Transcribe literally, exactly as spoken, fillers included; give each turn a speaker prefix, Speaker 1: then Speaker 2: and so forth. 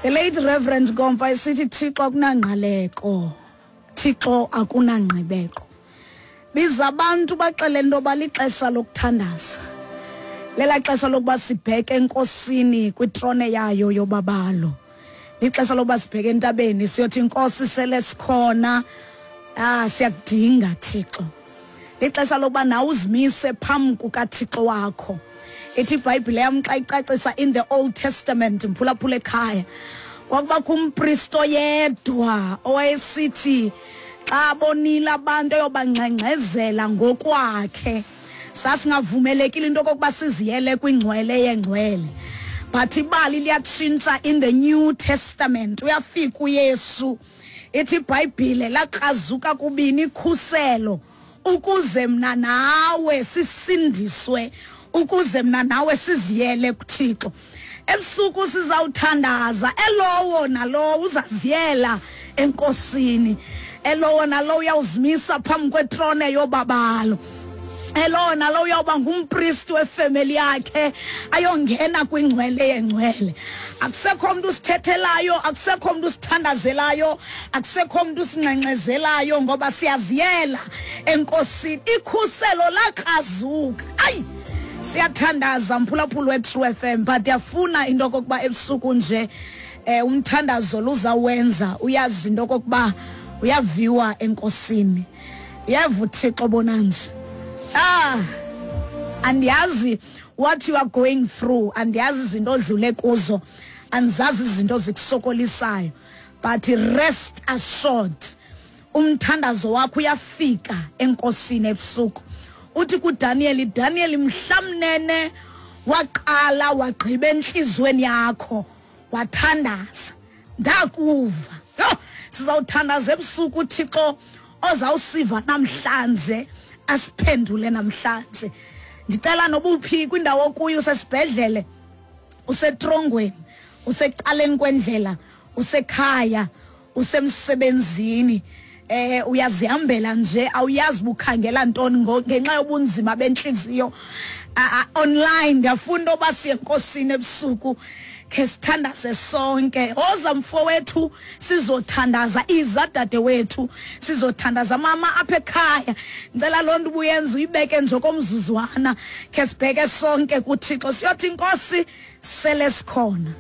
Speaker 1: The late Reverend Gomfa esithi, "Thixo akunangqaleko, Thixo akunangqibeko." Biza abantu, baxele into yoba lixesha lokuthandaza, lela xesha lokuba sibheke enkosini kwitrone yayo yobabalo, lixesha lokuba sibheke entabeni siyothi, "Inkosi, sele sikhona, ah siyakudinga, Thixo." Lixesha lokuba nawe uzimise phambi kukaThixo wakho. Ithi iBhayibhile yam xa icacisa in the Old Testament, mphulaphula ekhaya, kwakubakho umpristo yedwa owayesithi xa bonile abantu eyobangxengxezela ngokwakhe. Sasingavumelekile into okokuba siziyele kwingcwele yengcwele, but ibali liyatshintsha in the New Testament. Uyafika uYesu, ithi iBhayibhile lakrazuka kubini ikhuselo ukuze mna nawe sisindiswe, ukuze mna nawe siziyele kuThixo. Ebusuku sizawuthandaza, elowo nalowo uzaziyela enkosini, elowo nalowo uyawuzimisa phambi kwetrone yobabalo, elowo nalowo uyawuba ngumpristi wefemeli yakhe, ayongena kwingcwele yengcwele. Akusekho mntu usithethelayo, akusekho mntu usithandazelayo, akusekho mntu usingxengxezelayo, ngoba siyaziyela enkosini. Ikhuselo lakrazuka. Ayi, siyathandaza, mphulaphula we-True F M, but ndiyafuna into okokuba ebusuku nje eh umthandazo luzawenza uyazi into okokuba uyaviwa enkosini, uyeva uThixo bonanje. ah andiyazi what you are going through, andiyazi izinto odlule kuzo, andizazi izinto zikusokolisayo, but rest assured, umthandazo wakho uyafika enkosini ebusuku. Uthi kuDaniel, "Daniel, mhlamnene waqala wagqiba enhlizweni yakho wathandaza, ndakuva." Yho, sizawuthandaza ebusuku, uThixo ozawusiva namhlanje asiphendule namhlanje. Ndicela nobuphi kwindawo okuyo, usesibhedlele, usetrongweni, usecaleni kwendlela, usekhaya, usemsebenzini, eh uyazihambela nje, awuyazi bukhangela ntoni ngenxa yobunzima benhliziyo, online, ndiyafuna oba siye enkosini ebusuku, khe sithandaze sonke. Oza mfowethu, sizothandaza. Iza dadewethu, sizothandaza. Mama apha ekhaya, ngicela loo nto ubuyenza uyibeke nje komzuzwana, khe sibheke sonke kuThixo, siyothi, "Inkosi, sele sikhona."